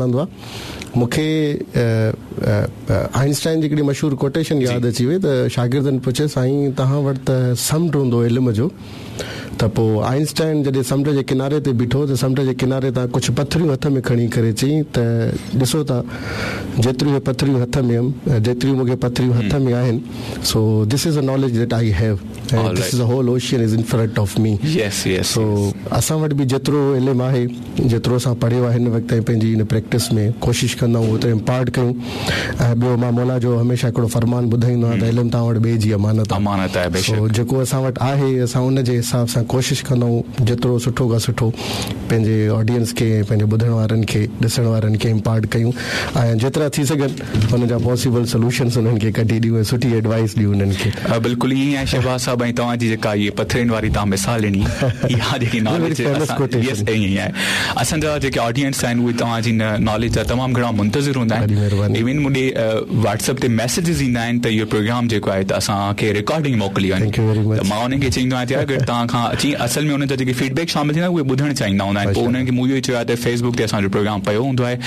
وڻندو آهي. مون کي آئنسٽائن جي هڪڙي مشهور ڪوٽيشن ياد اچي وئي ته شاگردن پڇيس سائين توهان وٽ ته سمنڊ هوندو علم جو ته پوء آئنسٽائن جڏهن سمنڊ جي ڪناري تي بيٺو ته سمنڊ جي ڪناري تان ڪجهه پٿريون هٿ ۾ کڻي ڪري چيائين ته ڏسو ٿا جيتريون هي پٿريون هٿ ۾ هيم جيتريون مون کي پٿريون هٿ ۾ آهن so this is a knowledge that I have ۽ this is a whole ocean is in front of me so اسان وٽ به جيترو علم آهي جيترو اسان پڙهيو آهي هن وقت تائين پنهنجي ان پريڪٽس ۾ ڪوشش ڪندا آهيون اوترو امپارٽ ڪيون ۽ ٻيو مان مولا جو هميشه هڪڙو فرمان ٻڌائيندو آهيان ته علم توهان وٽ ٻئي جي امانت آهي امانت آهي بيشڪ سو جيڪو اسان وٽ آهي اسان ان جي حساب سان ڪوشش ڪندا آهيون جيترو سٺو کان سٺو پنهنجي آڊينس کي ۽ پنهنجي ٻڌڻ وارن کي ڏسڻ وارن کي امپارٽ ڪيون ۽ جيترا ٿي سگهن ان جا پاسيبل سوليوشنس انهن کي ڪڍي ڏيون ۽ سٺي ايڊوائس ڏيون انهن کي. بلڪل ائين ئي آهي شهباز صاحب ۽ توهان جي جيڪا هي پٿرين واري توهان مثال ڏني اها جيڪي ناليج يس ائين ئي آهي اسان جا جيڪي آڊينس آهن اهي توهان جي ان ناليج جا تمام گهڻا منتظر هوندا آهن ايون مون ڏي واٽس اپ تي ميسيجز ايندا آهن ته اهو پروگرام جيڪو آهي ته اسان کي رڪارڊنگ موڪلي وڃي ته مان انهن کي چئيندو آهيان ته يار اگر توهان کان اچي اصل ۾ انهن جا جيڪي فيڊ بيڪ شامل ٿيندا آهن اهي ٻڌڻ چاهيندا هوندا آهن پوء انهن کي مون اهو ئي چيو آهي ته فيس بڪ تي اسان جو پروگرام پيو هوندو آهي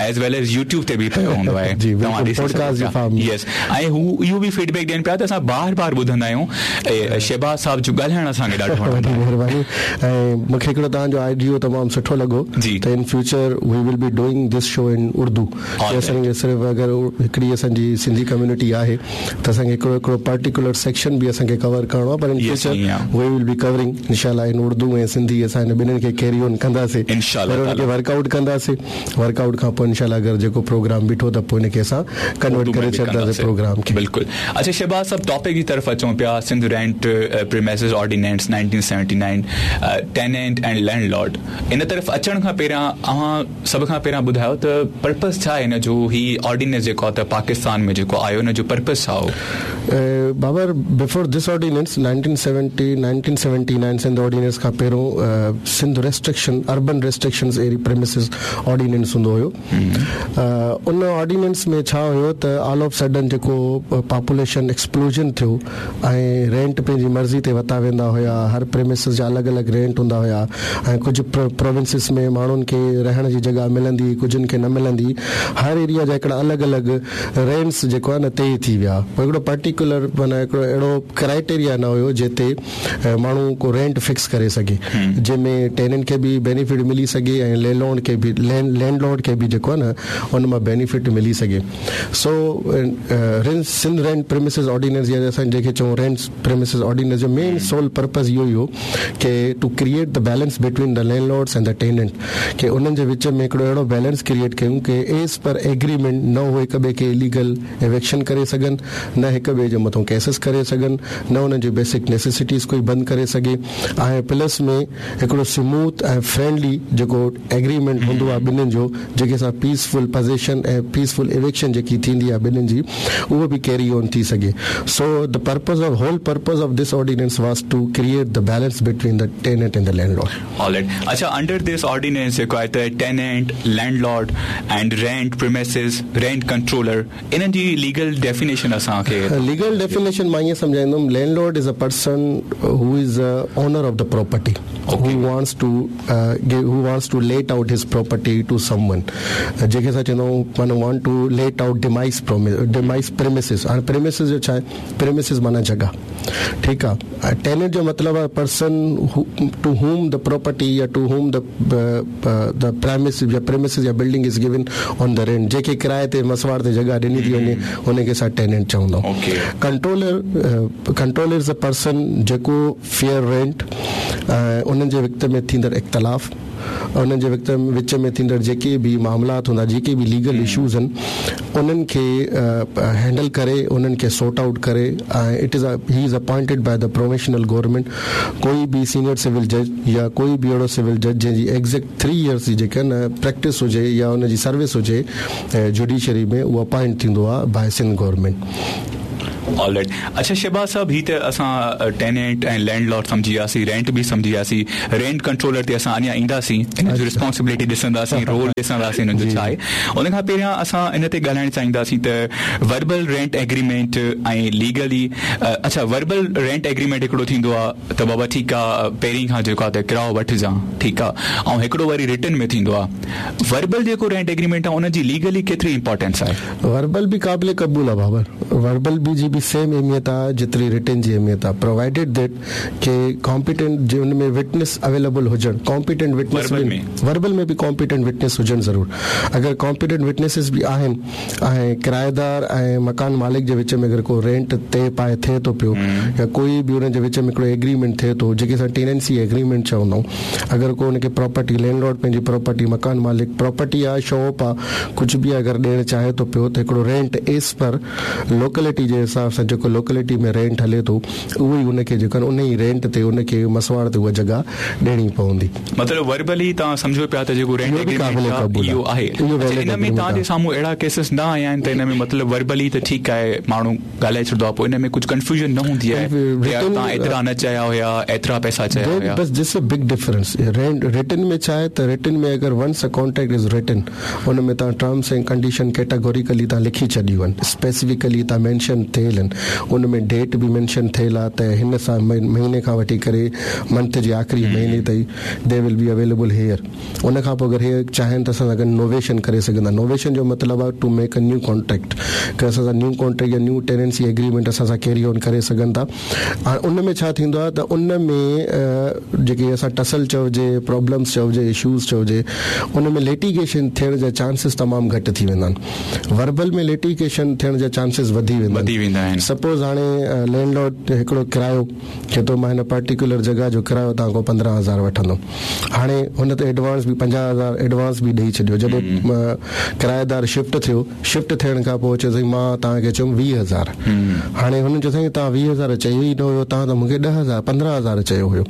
ايز ويل ايز يوٽيوب تي به پيو هوندو آهي جي توهان ڏسي سگهو ٿا يس ۽ هو اهو به فيڊ بيڪ ڏين پيا ته اسان بار بار ٻڌندا آهيون شهباز صاحب جو ڳالهائڻ اسان کي ڏاڍو وڻندو آهي. وڏي مهرباني ۽ مون کي هڪڙو توهان جو آئيڊيو تمام سٺو لڳو ته in future we will be doing this show in Urdu ڪي اسان کي صرف اگر هڪڙي اسان جي سنڌي ڪميونٽي آهي ته اسان کي هڪڙو هڪڙو پرٽيڪولر سيڪشن به اسان کي ڪور ڪرڻو آهي پر in future we will be covering انشاء الله ان اردو ۽ سنڌي اسان هن ٻنهين کي ڪيري اون ڪنداسي انشاء الله ان کي ورڪ آئوٽ ڪنداسي ورڪ آئوٽ کان پوء انشاء الله اگر جيڪو پروگرام بيٺو ته پوء ان کي اسان ڪنورٽ ڪري ڇڏنداسي پروگرام کي. بلڪل اڇا شهباز صاحب ٽاپڪ جي طرف اچون پيا Sindh rent premises ordinance 1979 tenant and landlord ان طرف اچڻ کان پهريان اوهان سڀ کان پهريان ٻڌايو ته پرپس ڇا آهي ان جو هي آرڊيننس جيڪو آهي ته پاڪستان ۾ جيڪو آيو ان جو پرپس ڇا هو؟ Babar before this ordinance 1970 1979 Sindh ordinance کان پهريون Sindh restriction urban restrictions area premises ordinance هوندو هيو ان آرڊيننس ۾ ڇا هيو ته آل آف سڊن جيڪو پاپوليشن ايڪسپلوجن ٿيو ۽ رينٽ پنهنجي مرضي تي وتا ويندا هيا هر پريمسز جا الڳ الڳ رينٽ هوندا هيا ۽ ڪجهه پروونسز ۾ ماڻهن کي رهڻ جي جڳهه ملندي هئي ڪجهن کي نه ملندي هئي هر ايريا جا هڪڙا الڳ الڳ رينٽس جيڪو آهي نه طئي ٿي ويا پوء هڪڙو پرٽيڪولر معنيٰ هڪڙو اهڙو ڪرائيٽيريا نه هيو جنهن تي ماڻهو ڪو رينٽ فڪس ڪري سگهي جنهن ۾ ٽيننٽ کي به بينيفٽ ملي سگهي ۽ لينڊ لارڊ کي به لينڊ لارڊ کي به جيڪو آهي نه ان مان بينيفٽ ملي سگهي سو سنڌ رينٽ پريمسز آرڊيننس يا اسان جنهن کي چئون رينٽ پريمسز آرڊيننس جو مين سول پرپز اهو ئي هو ڪي to create the balance between the landlords and the tenant ڪي انهن جي وچ ۾ هڪڙو اهڙو بيلنس ڪريئيٽ ڪيون ڪي ايز پر ايگريمينٽ نه هو هڪ ٻئي کي اليگل ايوڪشن ڪري سگهن نه هڪ ٻئي جي مٿون ڪيسز ڪري سگهن نه انهن جي بيسڪ نيسيسٽيز ڪوئي بند ڪري سگهي ۽ پلس ۾ هڪڙو سموٿ ۽ فرينڊلي جيڪو ايگريمينٽ هوندو آهي ٻنهين جو جيڪي سان پيسفل پزيشن ۽ پيسفل ايوڪشن جيڪي ٿيندي آهي ٻنهين جي اهو به ڪيري اون ٿي سگهي so the purpose of whole purpose of this ordinance was to create the balance between the tenant and the landlord. All right اڇا انڊر this ordinance جيڪو آهي ته tenant landlord and rent premises rent controller انهن جي legal definition اسان کي. Legal definition مان ائين سمجهائيندم landlord is a person who is a owner of the property who wants to who wants to let out his property to someone جنهن کي اسان چوندا آهيون معنيٰ want to let out demise demise premises هاڻي premises جو ڇا آهي پريمسز معنيٰ جڳهه ٺيڪ آهي ۽ ٽيننٽ جو مطلب آهي person to whom the property يا to whom the the premises يا پريمسز يا building is given on the rent جنهن کي ڪرائي تي مسواڙ تي جڳهه ڏني ٿي وڃي ان کي اسان ٽيننٽ چوندا آهيون controller controller is a person جيڪو فيئر رينٽ ۽ انهن جي وقت ۾ ٿيندڙ اختلاف انهن جي وقت وچ ۾ ٿيندڙ جيڪي به معاملات هوندا جيڪي به ليگل اشوز آهن انهن کي هينڊل ڪري انهن کي سورٽ آئوٽ ڪري ۽ it is he is appointed by the provincial government ڪوئي به سينيئر سول جج يا ڪوئي به اهڙو سول جج جنهن جي ايگزيڪٽ ٿري ايئرس جي جيڪا نه پريڪٽس هجي يا ان جي سروس هجي جوڊيشري ۾ اهو اپائنٽ ٿيندو آهي باء سنڌ گورنمينٽ. آل رائيٽ اڇا شهباز صاحب هي ته اسان ٽيننٽ ۽ لينڊ لارڊ سمجهي وياسين رينٽ به سمجهي وياسين رينٽ ڪنٽرولر تي اسان اڃا اينداسين ان جو ريسپانسبلٽي ڏسنداسين رول ڏسنداسين ان جو ڇا آهي ان کان پهريان اسان ان تي ڳالهائڻ چاهينداسين ته وربل رينٽ ايگريمينٽ ۽ ليگلي اڇا وربل رينٽ ايگريمينٽ هڪڙو ٿيندو آهي ته بابا ٺيڪ آهي پهرين کان جيڪو آهي ته ڪرايو وٺجان ٺيڪ آهي ۽ هڪڙو وري رٽن ۾ ٿيندو آهي وربل جيڪو رينٽ ايگريمينٽ آهي ان جي ليگلي ڪيتري امپارٽنس آهي. وربل به قابل قبول آ بابر. وربل به جي به سيم اهميت آ جيتري رٽن جي اهميت آ پرووائيڊيڊ that ڪي ڪامپيٽنٽ جي ان ۾ وٽنس اويليبل هجڻ ڪامپيٽنٽ وٽنس به وربل ۾ به ڪامپيٽنٽ وٽنس هجڻ ضرور اگر ڪامپيٽنٽ وٽنسز به آهن ۽ ڪرائيدار ۽ مڪان مالڪ جي وچ ۾ اگر ڪو رينٽ طئي پائي ٿئي ٿو پيو يا ڪوئي به انهن جي وچ ۾ هڪڙو ايگريمينٽ ٿئي ٿو جيڪي اسان ٽيننسي ايگريمينٽ چوندا آهيون اگر ڪو ان کي پراپرٽي لينڊ لارڊ پنهنجي پراپرٽي مڪان مالڪ پراپرٽي آ شاپ آ ڪجهه به اگر ڏيڻ چاهي ٿو پيو ته هڪڙو رينٽ ايز پر لوڪلٽي جي حساب سان جيڪو لوڪلٽي ۾ رينٽ هلي ٿو اهو ئي ان کي جيڪو آهي ان ئي رينٽ تي ان کي مسواڙ تي اها جڳهه ڏيڻي پوندي. مطلب وربلي توهان سمجهو پيا ته جيڪو رينٽ ايگريمينٽ آهي اهو آهي. اڇا ان ۾ توهان جي سامهون اهڙا ڪيسز نه آيا آهن ته ان ۾ مطلب وربلي ته ٺيڪ آهي ماڻهو ڳالهائي ڇڏندو آهي پوء ان ۾ ڪجهه ڪنفيوزن نه هوندي آهي ته يار توهان ايترا نه چيا هيا ايترا پئسا چيا هيا. بس this a big difference rent written ۾ ڇا آهي ته رٽن ۾ اگر once a contract is written ان ۾ توهان ٽرمس ۽ ڪنڊيشن ڪيٽاگوريڪلي توهان لکي ڇڏيون آهن اسپيسفڪلي توهان مينشن ٿيل آهن ان ۾ ڊيٽ به مينشن ٿيل آهي ته هن سان مهيني کان وٺي ڪري منٿ جي آخري مهيني تائين the will be available here ان کان پوء اگر هي چاهين ته اسان سان گڏ نوويشن ڪري سگهن ٿا. نوويشن جو مطلب آهي to make a new contract ڪه اسان سان نيو ڪانٽريڪٽ يا نيو ٽيننسي ايگريمينٽ اسان سان ڪيري آن ڪري سگهن ٿا. هاڻ ان ۾ ڇا ٿيندو آهي ته ان ۾ جيڪي اسان ٽسل چئجي، پرابلمس چئجي، اشوز چئجي ان ۾ ليٽيگيشن ٿيڻ جا چانسز تمام گهٽ ٿي ويندا آهن. وربل ۾ ليٽيگيشن ٿيڻ جا چانسز وڌي ويندا آهن. سپوز هاڻي لينڊ لارڊ هڪڙو ڪرايو چئي ٿو مان هن پرٽيڪولر جڳهه جو ڪرايو توهان کان 15 هزار وٺندم. هاڻي هن ته ايڊوانس به 50 هزار ايڊوانس به ڏئي ڇڏيو. جڏهن ڪرائيدار شفٽ ٿيو، شفٽ ٿيڻ کان پوء چيو سائين مان توهان کي چيم 20 هزار. هاڻي هنن چيو سائين توهان 20 هزار چيو ئي نه هيو، توهان ته مون کي 10 هزار 15 هزار چيو هيو.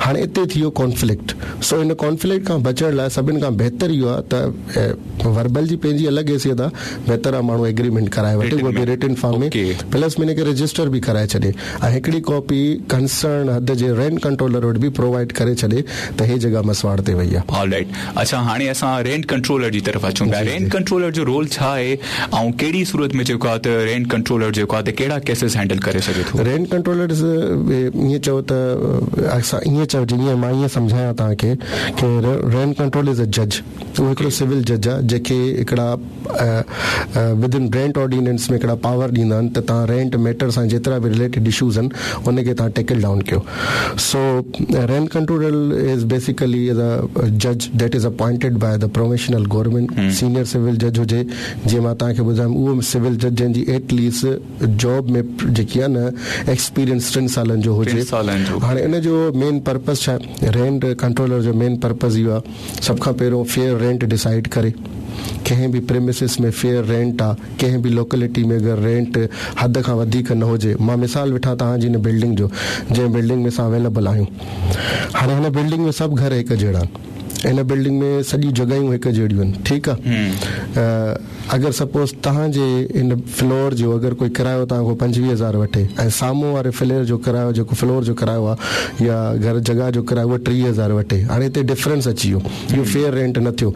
هاڻي اتي ٿي ويو ڪانفلڪٽ. سو ان ڪانفلڪٽ کان بچڻ لاء سڀن کان بهتر اهو آهي ته وربل جي پنهنجي الڳ حيثيت آهي، بهتر آهي ماڻهو ايگريمينٽ ڪرائي وٺي اهو به رٽن فارم ۾ پلس ۾ ان کي رجسٽر به ڪرائي ڇڏي. ۽ هڪڙي ڪاپي ڪنسرن حد جي رينٽ ڪنٽرولر وٽ به پرووائيڊ ڪري ڇڏي ته هي جڳهه مسواڙ تي وئي آهي. آل رائيٽ اڇا هاڻي اسان رينٽ ڪنٽرولر جي طرف اچون پيا رينٽ ڪنٽرولر جو رول ڇا آهي ۽ ڪهڙي صورت ۾ جيڪو آهي ته رينٽ ڪنٽرولر جيڪو آهي ته ڪهڙا ڪيسز هينڊل ڪري سگهي ٿو. رينٽ ڪنٽرولر ائين چئو ته اسان ائين چئجي ائين مان ائين سمجهايان توهان کي ڪي رينٽ ڪنٽرولر از ا جج اهو هڪڙو سول جج آهي جنهن کي هڪڙا ود ان رينٽ آرڊيننس ۾ هڪڙا پاور ڏيندا آهن ته توهان رينٽ ميٽر سان جيترا به رليٽيڊ اشوز آهن ان کي توهان ٽيڪل ڊائون ڪيو سو رينٽ ڪنٽرولر is basically از ا جج that is appointed by the provincial government senior civil جج هجي جيئن مان توهان کي ٻڌايم اهو سول جج جنهن جي ايٽ ليسٽ جاب ۾ جيڪي آهي نه ايڪسپيرينس ٽن سالن جو هجي هاڻي ان جو مين پرپز ڇا آهي رينٽ ڪنٽرولر جو مين پرپز اهو آهي سڀ کان پهريون فيئر رينٽ ڊسائيڊ ڪري. ڪنهن به پريمسز ۾ فيئر رينٽ آ، ڪنهن به لوڪلٽي ۾ اگر رينٽ حد کان وڌيڪ نه هجي. مان مثال وٺان توهان جي هن بلڊنگ جو، جنهن بلڊنگ ۾ اسان اويليبل آهيون. هاڻي هن بلڊنگ ۾ سڀ گهر هڪ جهڙا آهن. هن بلڊنگ ۾ سڄيون جڳهيون هڪ جهڙيون آهن. ٺيڪ آ. اگر سپوز توهان جي ان فلور جو اگر ڪوئي ڪرايو توهان کان 25 هزار وٺي ۽ سامهون واري فليئر جو ڪرايو جيڪو فلور جو ڪرايو آهي يا گهر جڳهه جو ڪرايو اهو 30 هزار وٺي هاڻي هتي ڊفرنس اچي ويو اهو فيئر رينٽ نه ٿيو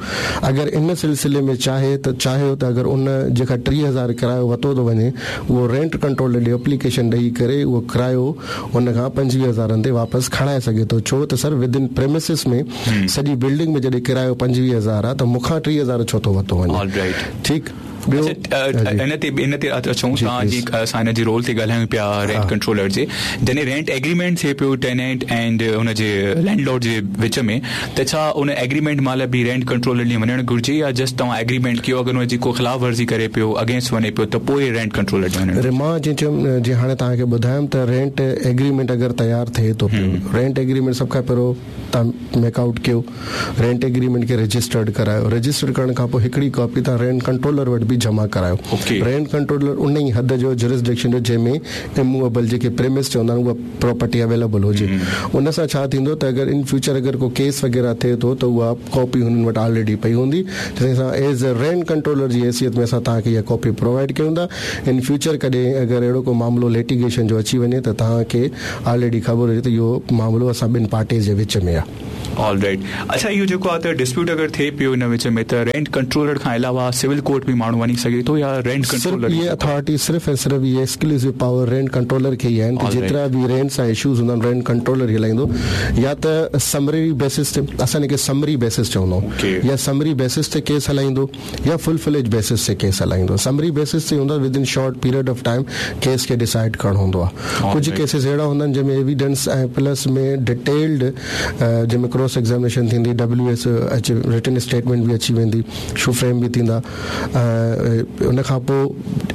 اگر ان سلسلي ۾ چاهي ته چاهيو ته اگر ان جنهن کان 30 هزار ڪرايو وتو ٿو وڃي اهو رينٽ ڪنٽرول ڏي اپليڪيشن ڏئي ڪري اهو ڪرايو ان کان 25 هزارن تي واپس کڻائي سگهي ٿو ڇو ته سر ود ان پريمسز ۾ سڄي بلڊنگ ۾ جڏهن ڪرايو 25 هزار آ ته مون کان 30 هزار ڇو ٿو وتو وڃي. All right. ٺيڪ ٻيو ان تي ان تي اچون توهان جي اسان ان جي رول تي ڳالهايون پيا رينٽ ڪنٽرولر جي جڏهن رينٽ ايگريمينٽ ٿئي پيو ٽيننٽ اينڊ ان جي لينڊ لارڊ جي وچ ۾ ته ڇا ان ايگريمينٽ مهل به رينٽ ڪنٽرولر ڏي وڃڻ گهرجي يا جسٽ توهان ايگريمينٽ ڪيو اگر ان جي ڪو خلاف ورزي ڪري پيو اگينسٽ وڃي پيو ته پوء رينٽ ڪنٽرولر ڏي وڃڻ گهرجي. مان جيئن چيم جيئن هاڻي توهان کي ٻڌايم ته رينٽ ايگريمينٽ اگر تيار ٿئي ٿو پيو رينٽ ايگريمينٽ سڀ کان پهريون توهان ميڪ آئوٽ ڪيو رينٽ ايگريمينٽ کي رجسٽرڊ ڪرايو رجسٽرڊ ڪرڻ کان پوء هڪڙي ڪاپي توهان رينٽ ڪنٽرولر وٽ به ڪاپي جمع ڪرايو. رينٽ ڪنٽرولر ان ئي حد جو جورسڊڪشن جو جنهن ۾ اموويبل جيڪي پريمس چوندا آهن اها پراپرٽي اويليبل هجي. ان سان ڇا ٿيندو ته اگر ان فيوچر اگر ڪو ڪيس وغيره ٿئي ٿو ته اها ڪاپي هنن وٽ آلريڊي پئي هوندي جنهن سان ايز اي رينٽ ڪنٽرولر جي حيثيت ۾ اسان توهان کي اها ڪاپي پرووائيڊ ڪيون ٿا. ان فيوچر ڪڏهن اگر اهڙو ڪو معاملو ليٽيگيشن جو اچي وڃي ته توهان کي آلريڊي خبر هجي ته اهو معاملو اسان ٻن پارٽيز جي وچ ۾ آهي. آل رائيٽ اڇا اهو جيڪو آهي ته ڊسپيوٽ اگر ٿئي پيو ان وچ ۾ ته رينٽ ڪنٽرولر کان علاوه سول ڪورٽ به ماڻهو وڃي سگهي ٿو يا رينٽ صرف ڪنٽرولر ئي اهي اٿارٽي صرف ۽ صرف اهي ايڪسڪلوسو پاور رينٽ ڪنٽرولر کي ئي آهن ته جيترا به رينٽ سان اشوز هوندا آهن رينٽ ڪنٽرولر ئي هلائيندو يا ته سمري بيسس تي اسان ان کي سمري بيسس چوندا آهيون يا سمري بيسس تي ڪيس هلائيندو يا فل فليج بيسس تي ڪيس هلائيندو. سمري بيسس تي هوندو آهي within short period of time case کي ڊسائيڊ ڪرڻو هوندو آهي. ڪجهه ڪيسز اهڙا هوندا آهن جنهن ۾ ايويڊنس ۽ پلس ۾ ڊيٽيلڊ جنهن ۾ ڪراس ايگزامينيشن ٿيندي ڊبليو ايس اچي رٽن اسٽيٽمينٽ به اچي ويندي شو فريم به ٿيندا ۽ ان کان پوء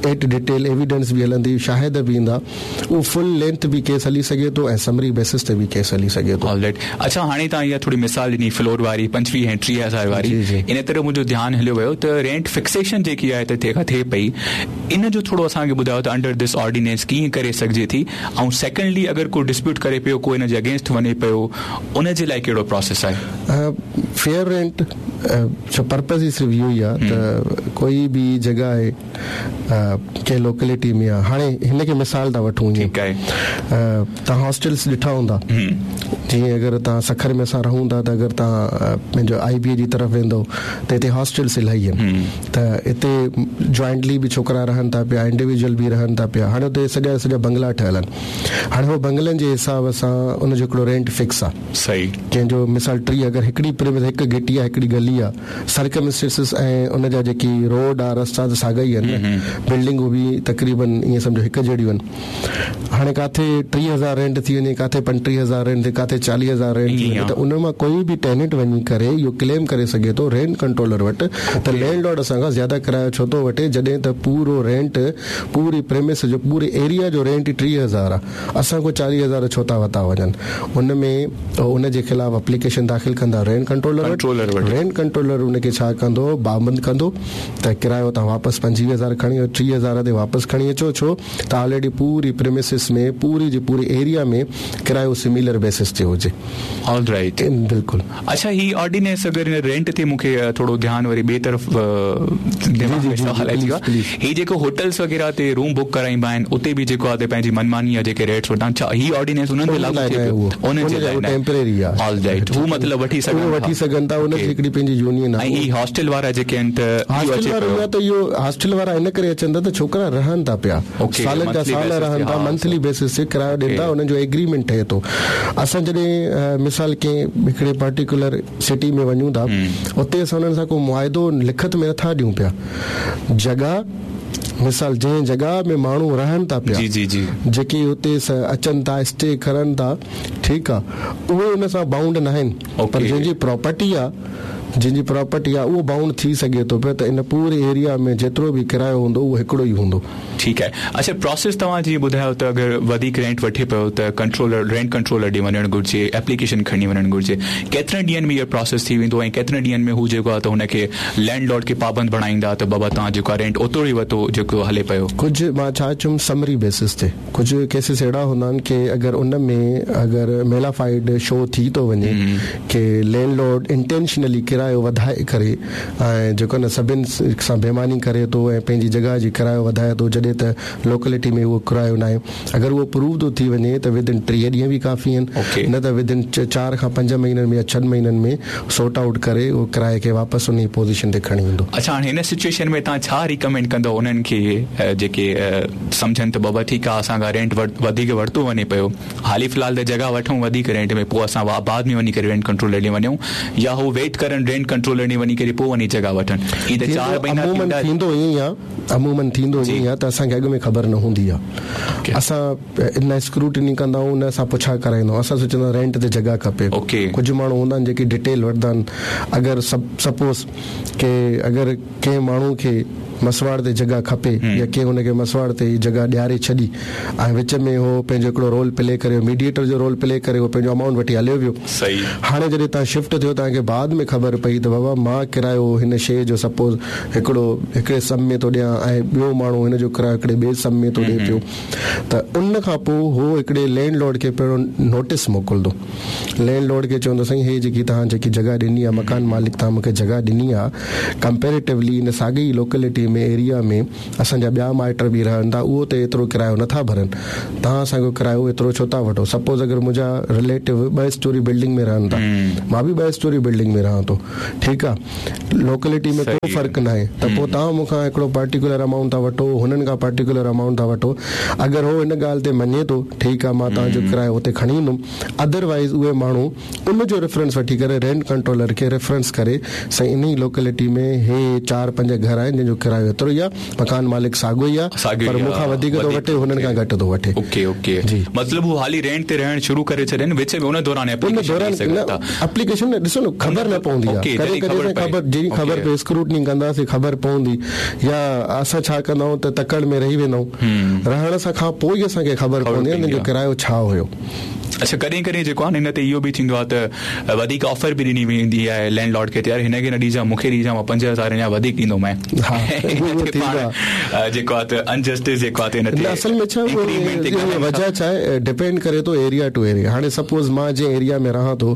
ايٽ ڊيٽيل ايويڊنس به هلندي شاهد به ايندا اهو فل لينٿ به ڪيس هلي سگهي ٿو ۽ سمري بيسس تي به ڪيس هلي سگهي ٿو. آل رائيٽ اڇا هاڻي توهان اها ٿوري مثال ڏني فلور واري 25 ۽ 30 هزار واري ان طرف منهنجو ڌيان هليو ويو ته رينٽ فڪسيشن جيڪي آهي ته جيڪا ٿئي پئي ان جو ٿورو اسان کي ٻڌايو ته انڊر this ordinance ڪيئن ڪري سگهجي ٿي ۽ سيڪنڊلي اگر ڪو ڊسپيوٽ ڪري پيو ڪو ان جي اگينسٽ وڃي پيو ان جي لاء ڪهڙو پراسيس آهي؟ فيئر رينٽ جو پرپز ئي صرف اهو ئي آهي ته ڪوئي به جڳهه آهي ڪنهن لوڪلٽي ۾ آ هاڻي هن کي مثال ٿا وٺون ائين توهان هاسٽلس ڏٺا هوندا جيئن اگر توهان سکر ۾ اسان رهون ٿا ته اگر توهان پنهنجو آئي بي اي جي طرف ويندو ته هتي هاسٽلس الاهي آهن ته هتي جوائنٽلي به ڇوڪرا رهن ٿا پيا انڊيويجول به رهن ٿا پيا هاڻي اتي سڄا سڄا بنگلا ٺهيل آهن هاڻي هو بنگلن جي حساب سان ان جو هڪڙو رينٽ فڪس آ صحيح ڪنهن جو مثال 30 اگر هڪڙي پريمس هڪ گهٽي آ هڪڙي گلي آ سرڪمسٽنسز ۽ ان جا جيڪي روڊ آ رستا ته ساڳا ئي آهن نه بلڊنگون به تقريبن ائين سمجهو هڪ جهڙيون آهن هاڻي ڪاٿي 30 هزار رينٽ ٿي وڃي ڪاٿي 35 هزار رينٽ ٿي ڪاٿي 40 هزار رينٽ ٿي وڃي ته ان مان ڪوئي به ٽيننٽ وڃي ڪري اهو ڪليم ڪري سگهي ٿو رينٽ ڪنٽرولر وٽ ته لينڊ لارڊ اسان کان زياده ڪرايو ڇو ٿو وٺي جڏهن ته پورو رينٽ پوري پريمس جو پوري ايريا جو رينٽ ئي 30 هزار آ اسان کان 40 هزار ڇو ٿا وتا وڃن ان ۾ ان جي خلاف اپليڪيشن داخل ڪندا رينٽ ڪنٽرولر وٽ رينٽ ڪنٽرولر ان کي ڇا ڪندو پابند ڪندو ته ڪرايو توهان واپس 25 هزار کڻي 30 هزار تي واپس کڻي اچو ڇو ته آلريڊي پوري پريمسز ۾ پوري جي پوري ايريا ۾ ڪرايو سميلر بيسس تي هجي. آل رائيٽ بلڪل. اڇا هي آرڊيننس اگر هن رينٽ تي مون کي ٿورو ڌيان وري ٻئي طرف دماغ ۾ سوال اچي ويو آهي هي جيڪو هوٽلس وغيره تي روم بڪ ڪرائينبا آهن اتي به جيڪو آهي پنهنجي منماني جا جيڪي ريٽس وٺندا آهن ڇا هي آرڊيننس انهن تي لاڳو ٿئي پيو انهن جي لاء ٽيمپرري آهي آل رائيٽ هو مطلب وٺي سگهن ٿا وٺي سگهن ٿا ان جي هڪڙي پنهنجي يونين آهي ۽ هي هاسٽل وارا جيڪي آهن ته اهو اچي پيو ته اهو هاسٽل وارا ان ڪري اچن ٿا ته ڇوڪرا رهن ٿا پيا سالن جا سال رهن ٿا منٿلي بيسس تي ڪرايو ڏين ٿا انهن جو ايگريمينٽ ٺهي ٿو اسان جڏهن مثال ڪنهن هڪڙي پرٽيڪولر سٽي ۾ وڃون ٿا اتي اسان انهن سان ڪو معاهدو لکت ۾ نٿا ڏيون پيا جڳهه مثال جنهن جڳهه ۾ ماڻهو رهن ٿا پيا جي جي جي جيڪي اتي اچن ٿا اسٽي ڪرن ٿا ٺيڪ آ اهي ان سان بائونڊ ناهن پر جنهن جي پراپرٽي آ جنهن جي پراپرٽي آ اهو بائونڊ ٿي سگهي ٿو پيو ته ان پوري ايريا ۾ جيترو به ڪرايو هوندو اهو هڪڙو ئي هوندو. ٺيڪ آهي اڇا پراسيس توهان جيئن ٻڌايو ته اگر وڌيڪ رينٽ وٺي پيو ته ڪنٽرولر رينٽ ڪنٽرولر ڏي وڃڻ گهرجي ايپليڪيشن کڻي وڃڻ گهرجي ڪيترن ڏينهن ۾ اهو پراسيس ٿي ويندو ۽ ڪيترن ڏينهن ۾ هو جيڪو آهي ته هن کي لينڊ لارڊ کي پابند بڻائيندا ته بابا توهان جيڪو آهي رينٽ اوترو ئي ورتو جيڪو هلي پيو. ڪجهه مان ڇا چيم سمري بيسس تي ڪجهه ڪيسز اهڙا هوندا آهن ڪي اگر ان ۾ اگر ميلافائيڊ شو ٿي ٿو وڃي ڪي لينڊ لارڊ انٽينشنلي ڪرايو وڌائي ڪري ۽ جيڪو نه سڀن سان بيماني ڪري ٿو ۽ پنهنجي جڳهه جي ڪرايو وڌائي ٿو جڏهن ته لوڪلٽي ۾ اهو ڪرايو ناهي اگر اهو پروو ٿو ٿي وڃي ته ود ان 30 ڏينهن به ڪافي آهن نه ته ود ان چار کان پنج مهينن ۾ يا ڇهن مهينن ۾ سورٽ آئوٽ ڪري اهو ڪرائي کي واپس انهي پوزيشن تي کڻي ايندو. اڇا هاڻي هن سچوئيشن ۾ توهان ڇا ريڪمينڊ ڪندؤ انهن کي جيڪي سمجهن ته بابا ٺيڪ آهي اسان کان رينٽ وڌيڪ ورتو وڃي پيو حالي في الحال ته جڳهه وٺون وڌيڪ رينٽ ۾ پوء اسان بعد ۾ وڃي ڪري رينٽ ڪنٽرولر ڏي وڃون يا هو ويٽ ڪرن رينٽ ڪنٽرولر ڏي وڃي ڪري پوء وڃي جڳهه وٺن هي ته چار مهينا ٿيندا. عمومن ٿيندو ائين ئي آ عمومن ٿيندو ائين ئي آ ته اسان کي اڳ ۾ خبر نه هوندي آ اسان نه اسڪروٽني ڪندا آهيون نه اسان پڇا ڪرائيندا آهيون اسان سوچيندا آهيون رينٽ تي جڳهه کپي ڪجهه ماڻهو هوندا آهن جيڪي ڊيٽيل وٺندا آهن اگر سپوز ڪي اگر ڪنهن ماڻهو کي مسواڙ تي جڳهه کپي يا ڪنهن هن کي مسواڙ تي جڳهه ڏياري ڇڏي ۽ وچ ۾ هو پنهنجو هڪڙو رول پلي ڪري ميڊيئيٽر جو رول پلي ڪري هو پنهنجو امائونٽ وٺي هليو ويو. هاڻي جڏهن توهان شفٽ ٿيو توهان کي بعد ۾ خبر پئي ته بابا مان ڪرايو هن شيء جو سپوز هڪڙو هڪڙي سم ۾ ٿو ڏيان ۽ ٻيو ماڻهو هن جو ڪرايو هڪڙي ٻئي سم ۾ ٿو ڏي پيو ته ان کان پوء هو هڪڙي لينڊ لارڊ کي پهريون نوٽيس موڪلندو لينڊ لارڊ کي چوندو سائين هي جيڪي توهان جيڪي جڳهه ڏني آهي مڪان مالڪ توهان مون کي جڳهه ڏني آهي ڪمپيريٽولي ان ساڳي ئي لوڪلٽي ۾ ايريا ۾ اسان جا ٻيا مائٽ به رهن ٿا اهو ته ايترو ڪرايو نٿا ڀرن توهان اسان کان ڪرايو ايترو ڇو ٿا وٺو سپوز اگر منهنجا رليٽو ٻه اسٽوري بلڊنگ ۾ رهن ٿا مان به ٻه اسٽوري بلڊنگ ۾ رهان ٿو ٺيڪ آ لوڪلٽي ۾ ڪو فرق ناهي ته پوء توهان مون کان هڪڙو پرٽيڪولر امائونٽ ٿا وٺو هنن کان پرٽيڪولر امائونٽ ٿا وٺو اگر هو ان ڳالهه تي مڃي ٿو ٺيڪ آ مان توهان جو ڪرايو اتي کڻي ايندم ادروائيز اهي ماڻهو ان جو ريفرنس وٺي ڪري رينٽ ڪنٽرولر کي ريفرنس ڪري سائين انهي لوڪلٽي ۾ هي چار پنج گهر آهن جن جو ڪرايو ايترو ئي آ مڪان مالڪ ساڳيو ئي آ پر مون کان وڌيڪ ٿو وٺي هنن کان گهٽ ٿو وٺي. اوڪي اوڪي جي مطلب هو حالي رينٽ تي رهڻ شروع ڪري ڇڏين وچ ۾ ان دوران ايپليڪيشن ڏئي سگهن ٿا. اپليڪيشن نه ڏسو نه خبر نه پوندي آ ڪڏهن ڪڏهن خبر جڏهن خبر پئي اسڪروٽني ڪنداسين خبر پوندي يا اسان ڇا ڪندا آهيون ته تڪڙ ۾ رهي ويندا آهيون رهڻ سان کان پوء ئي اسان کي خبر پوندي آ هن جو ڪرايو ڇا هيو. اڇا ڪڏهن ڪڏهن جيڪو آهي نه هن تي اهو به ٿيندو آهي ته وڌيڪ آفر به ڏني ويندي آهي لينڊ لارڊ کي ته يار هن کي نه ڏجان مون کي ڏجان مان 5000 اڃا وڌيڪ ڏيندومانء پاڻ جيڪو آهي ته انجسٽس جيڪو آهي ته هن تي اصل ۾ ڇا وجه ڇا آهي ڊپينڊ ڪري ٿو ايريا ٽو ايريا هاڻي سپوز مان جنهن ايريا ۾ رهان ٿو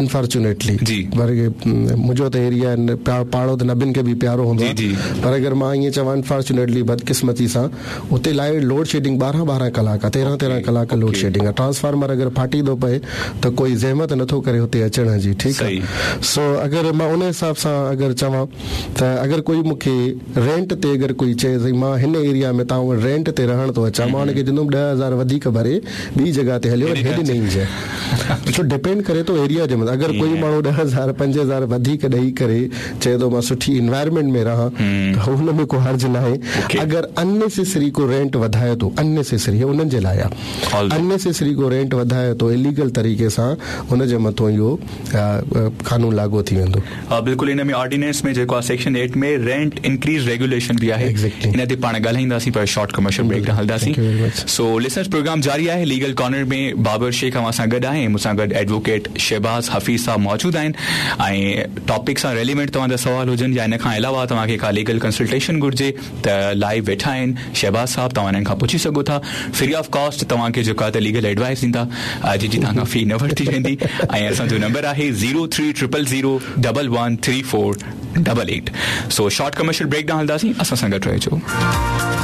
انفارچونيٽلي جي پر منهنجو ته ايريا پاڙو ته سڀن کي به پيارو هوندو آهي پر اگر مان ائين چوان انفارچونيٽلي بدقسمتي سان اتي لائيٽ لوڊ شيڊنگ ٻارهن ٻارهن ڪلاڪ آ تيرهن تيرهن ڪلاڪ لوڊ شيڊنگ آ ٽرانسفارمر اگر ڦاٽي ٿو پئي ته ڪوئي زحمت نٿو ڪري اتي اچڻ جي ٺيڪ آ سو اگر مان ان حساب سان اگر چوان ته اگر ڪوئي مون کي رينٽ تي اگر ڪوئي چئي سائين مان هن ايريا ۾ توهان وٽ رينٽ تي رهڻ ٿو اچان مان ان کي چوندم 10,000 وڌيڪ ڀري ٻي جڳهه تي هليو وڃ هيڏي نه اينجي سو ڊپينڊ ڪري ٿو ايريا جي مٿان اگر ڪوئي ماڻهو 10,000 5,000 وڌيڪ ڏئي ڪري چئي ٿو مان سٺي انوائرمينٽ ۾ رهان ته ان ۾ ڪو حرج ناهي اگر اننيسيسري ڪو رينٽ وڌائي ٿو اننيسيسري هي انهن جي لاء آهي اننيسيسري ڪو رينٽ وڌائي ٿو اليگل طريقي سان ان جي مٿون اهو قانون لاڳو ٿي ويندو. ها بلڪل ان ۾ آرڊيننس ۾ جيڪو آهي سيڪشن 8 ۾ رينٽ انڪريز ريگيوليشن به آهي ان تي پاڻ ڳالهائينداسين پر شارٽ ڪمرشل بريڪ ڏانهن هلنداسين سو لسنرز پروگرام جاري آهي ليگل ڪارنر ۾ بابر شيخ اوهان سان گڏ آهي ۽ مون سان گڏ ايڊووڪيٽ شهباز حفيظ صاحب موجود آهن ۽ ٽاپڪ سان ريليونٽ توهان جا سوال هجن يا ان کان علاوه توهان کي ڪا ليگل ڪنسلٽيشن گهرجي ته لائيو ويٺا آهن شهباز صاحب توهان انهن کان پڇي سگهو ٿا فري آف ڪاسٽ توهان کي جيڪو آهي ته ليگل ايڊوائس ڏيندا جنهن جي توهان کان في نه ورتي ويندي ۽ اسان جو نمبر آهي zero three triple zero double one three four double eight so short commercial break ڏانهن هلنداسين اسان سان گڏ رهجو.